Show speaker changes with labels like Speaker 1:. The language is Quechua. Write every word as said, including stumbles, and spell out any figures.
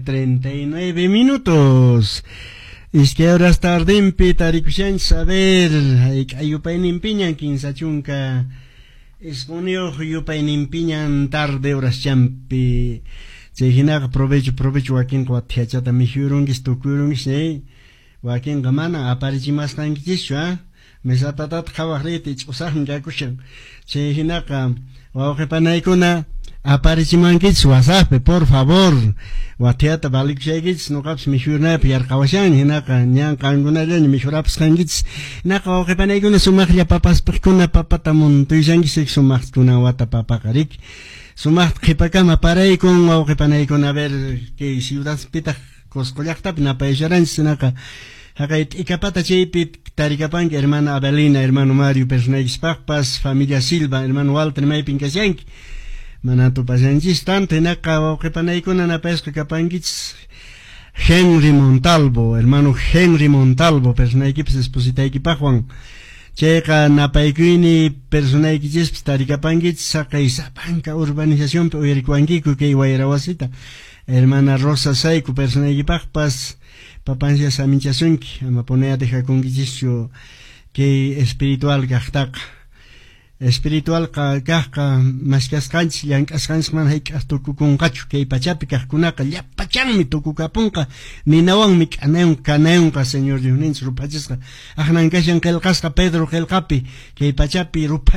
Speaker 1: treinta y nueve minutos. Iskay horas tardinpi tarikushanchis, a ver, hayk'a yupayninpiñan, kinsa chunka isquniyuq yupayninpiñan tarde horaschanpi. Chay hinaqa provecho, provecho, wakinqa wathiachata mikhuyurunkis, tukuyurunkis, eh? Wakinqa mana aparichimasqankichischu, ah? Mesatatata qhawaq riyta ich'usaqmi kakushan. Chay hinaqa wawqi panaykuna aparichimankichis WhatsApppi, por favor. Wathiata valikushaykichis, nuqapas mikhuyunaypaq yarqawashani, hinaqa ñan qankunallaña mikhurapasqankichis. Hinaqa wawqi panaykuna sumaqlla papaspaqkuna papata muntuyashankichis, sumaqkuna wata papaqa riki. Sumaqta qhipakama paraykun wawqi panaykuna, a ver, kay ciudadpitaq Cusco llaqtapi napayasharanchis, hinaqa haqay t'ikapata chaypi tarikapanki hermana Abelina, hermano Mario personaykispaqpas, familia Silva, hermano Walter maypin kashanki. Mana tupashanchis tanto, hinaqa wawqi panaykuna napayasqa kapankichis. Henry Montalvo, hermano Henry Montalvo, personaykipas espositaykipaqwan. Chayqa napaykuyni personaykichispas tarikapankichis haqay sapanka urbanizacionpi uyarikuwankiku kay wayra wasita. Hermana Rosa Saiku personaykipaqpas papancia saminchasunki, ama ponea dejakunkichischu kay espiritual kaqtaqa. Espiritual kaqqa maskasqanchis llank'asqanchis mana hayk'aq tukukunqachu, kay pachapi kaqkunaqa llapachanmi tukukapunqa, ninawanmi k'anayun kanayunqa Señor Diosninchis ruphachisqa. Aqnan kashan qillqasqa Pedro qillqapi kay pachapi ruphachi